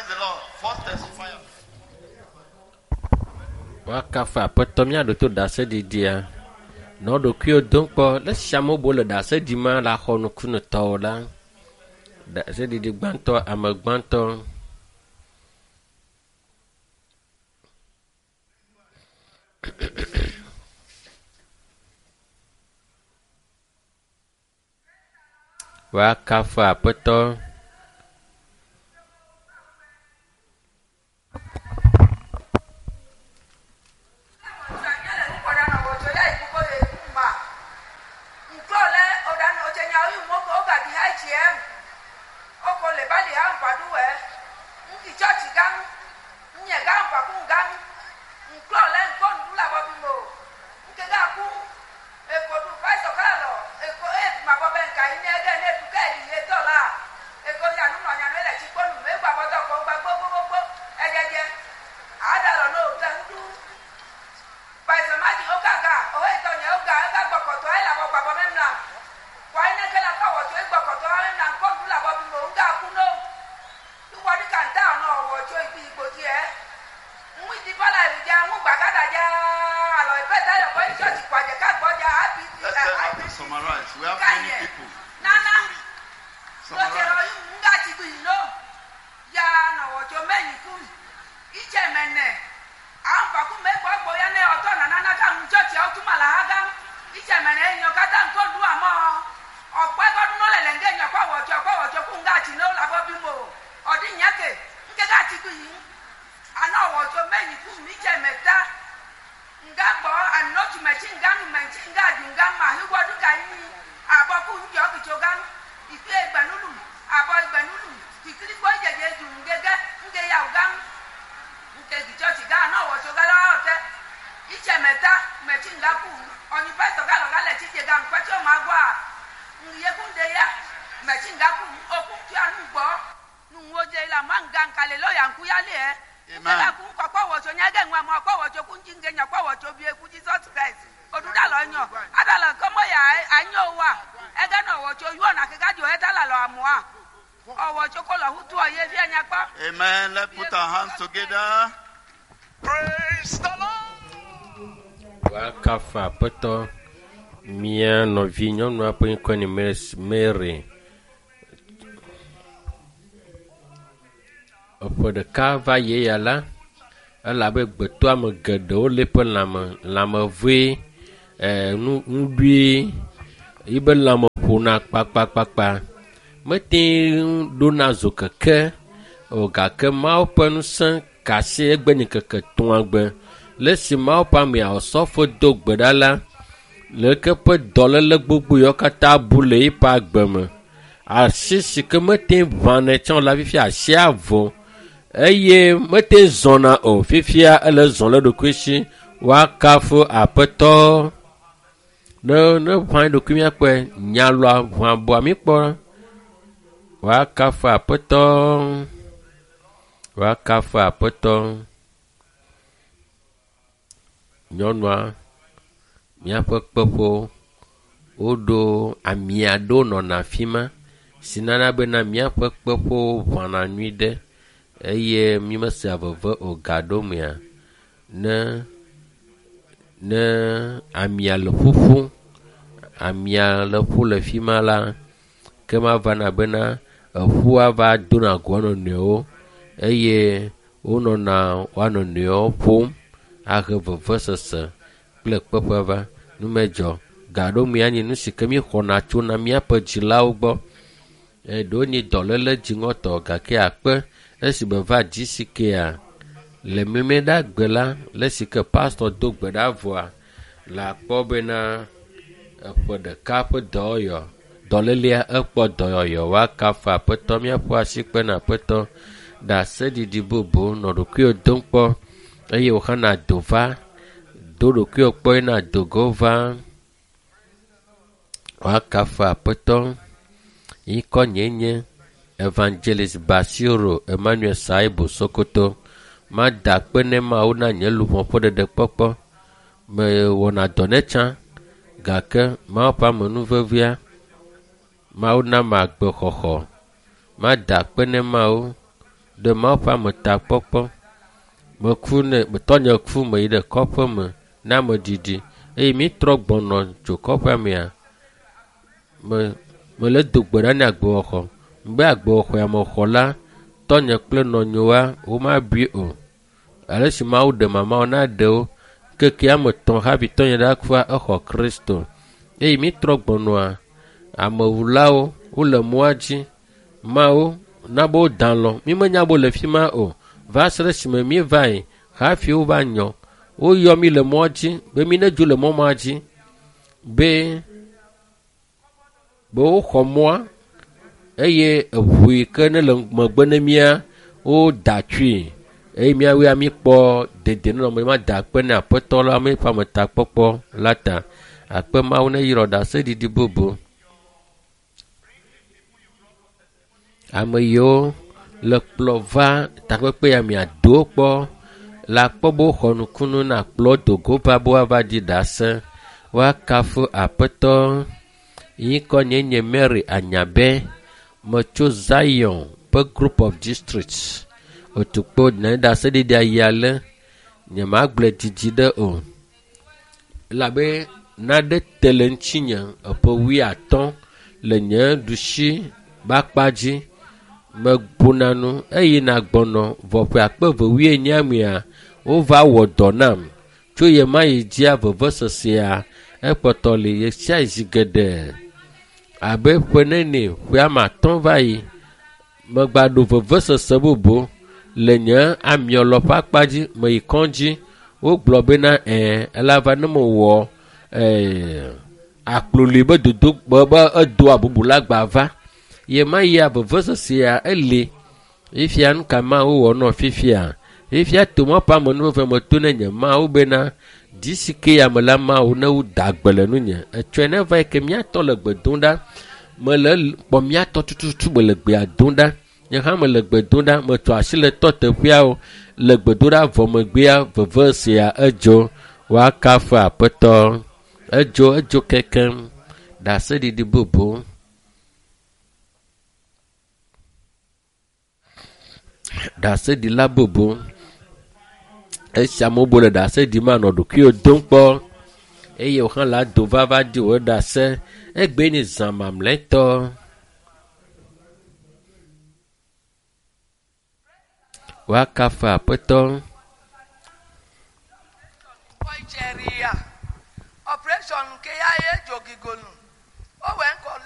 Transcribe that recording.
Praise the Lord. First testifier. Woakafu Aƒetɔ míaɖo to ɖaseɖiɖia. Nɔ ɖokuiwo dom kpɔ le esi amewo bo le ɖase ɖim le axɔ nukunutɔwo la. Ɖaseɖiɖi gbãtɔ, ame gbãtɔ. Woakafu Aƒetɔ. Let's tell her to summarize. We have many people. Summarize. Amen. Amen. Let's put our hands together. Praise the Lord. Woakafu Aƒetɔ. Mía nɔvi nyɔnua ƒe ŋkɔe nye Mary. Eƒe ɖeka va yi ya la, elabe gbetɔame geɖewo le eƒe lãme, lãmevee, nu ŋuɖui, yibe lãme ƒona kpakpakpakpa. Mete ŋu ɖona zokeke o gake Mawu ƒe ŋusẽ ka asi egbe nye ŋkeke etɔ̃a gbe. Le esi Mawu ƒe ame Osɔfo do gbe ɖa la, leke ƒe dɔléle gbogbo yawo katã bu le eƒe agbe me. Asi si ke mete ŋu ʋãnɛ tsã o la fifia asia vo eye mete ŋu zɔna o fifia ele zɔm le eɖokui si. Woakafu Aƒetɔ. Ne ʋã eɖokui míakpɔe, nyalɔa ʋã bua míkpɔ. Woakafu Aƒetɔ. Woakafu Aƒetɔ. Nyɔnua, míaƒe kpeƒewo, woɖo ami aɖewo nɔna afi ma si nana bena míaƒe kpeƒewo ʋãna nyui ɖe eye mímesea veve o gaɖomea. Ne amia le ƒuƒum, amia le ƒu le fi ma la, ke ma vana bena eƒua va dona go nɔnɔewo eye wonɔna woa nɔnɔewo ƒom ahe vevesese kple kpeƒe va. Numedzɔ gaɖomea nye nu si ke míexɔna tsona míaƒe dzilawo gbɔ. Ɖewo nye dɔléle dziŋɔtɔ gake akpe esime va dzi si kea le mlɛmlɛɖagbe la le si ke pastor do gbe ɖa vɔa le akpɔ bena eƒe ɖeka ƒe dɔyɔ dɔlélea ekpɔ dɔyɔyɔ woakafu Aƒetɔ míaƒe asi kpe na Aƒetɔ ɖaseɖiɖi bubu nɔ ɖokuiwò dom kpɔ eye wòhã do va do ɖokuiwò kpɔ yina do go va woakafu Aƒetɔ. Ŋkɔ nye nye Evangelist Basiro Emmanuel Saibu Sokoto. Mada akpe ne Mawu na nye luʋɔ ƒe ɖeɖekpɔkpɔ. Mewɔna dɔ ne tsã gake Mawu ƒe amenuvevea, Mawu na me agbexɔxɔ. Mada akpe ne Mawu Ɖe Mawu ƒe ametakpɔkpɔ. Meku ne tɔnye ku meyi ɖe kɔƒe me na ameɖiɖi eye mítrɔ gbɔnɔ tso kɔƒea mea, me mele do gbe ɖa ne agbewɔxɔ. Be agbewɔxɔ ya mexɔ la, tɔnye kple nɔnyewoa womabui o. Ale si Mawu ɖe mamawo na ɖe wo. Ŋkeke ame etɔ̃ hafi tɔnye ɖa kua exɔ Kristo. Eye mítrɔ gbɔnɔa, amewulawo wole mɔa dzi. Mawo na be woda alɔ. Mímenya be wole fi ma o. Va se ɖe esime míeva yi hafi wova nyɔ. Woyɔ mí le mɔa dzi be mí nedzo le mɔ ma dzi be be woxɔ mɔa eye eʋu yi ke ne le megbe ne mía woda tsui eye míawoe míkpɔ dedienɔnɔ ma da akpe ne aƒetɔ la míƒe ametakpɔkpɔ la ta. Akpe Mawu ne yrɔ ɖaseɖiɖi bubu. Ame yiwo le kplɔ va takpekpe ya mia do kpɔ le akpɔ be woxɔ nukunu na kplɔ do go va be woava ɖi ɖase. Woakafu aƒetɔ. Yi ŋkɔ nye nye Mary Anyabe. Metso Zion ƒe Group of Districts. Otukpo ne ɖaseɖiɖia yi ale. Nyemagblɔe didi ɖe o. Elabe naɖe te le ŋutinye eƒe wuiatɔ̃ le nye ɖusi ƒe akpa dzi. Megbona nu eye nagbɔnɔ vɔ ƒe akpe eve wuienyi mea, wova wɔ dɔ nam. Tso ɣe ma ɣi dzia vevesesea ekpɔtɔ li ɣe sia ɣi zi geɖe. Abe ƒe nene ƒe ame atɔ̃ va yi, megbaɖo vevesese bubu le nye amiɔlɔ ƒe akpa dzi meyi kɔdzi. Wogblɔ bena ɛ̃ elaba ne mewɔ ɛɛ akploli be dodo be be edoa bubu la gba va. Ɣe ma ɣia vevesesea eli. Fifia nu ka Mawu wɔ nɔ fifia? Fifia to Mawu ƒe amenuveve me to ne nye Mawu bena dzi si ke ya me la Mawu ne woda gbe le nunye. Etsɔe ne va yi ke míatɔ le gbe dom ɖa. Mele kpɔ míatɔ tututu mele gbea dom ɖa. Nye hã mele gbe dom ɖa. Metso asi le tɔ teƒeawo le gbedoɖa vɔ megbea vevesea edzo. Woakafu aƒetɔ. Edzo edzo kekeŋ. Ɖaseɖiɖi bubu. Ɖaseɖila bubu. Esi amewo bu le ɖase ɖim anɔ ɖokuiwo dom kpɔ eye wò hã la do va va di wò ɖase. Egbe nye zã mamlɛtɔ. Woakafu aƒetɔ. Operation nke ya ye jogigonu. O wee nkɔ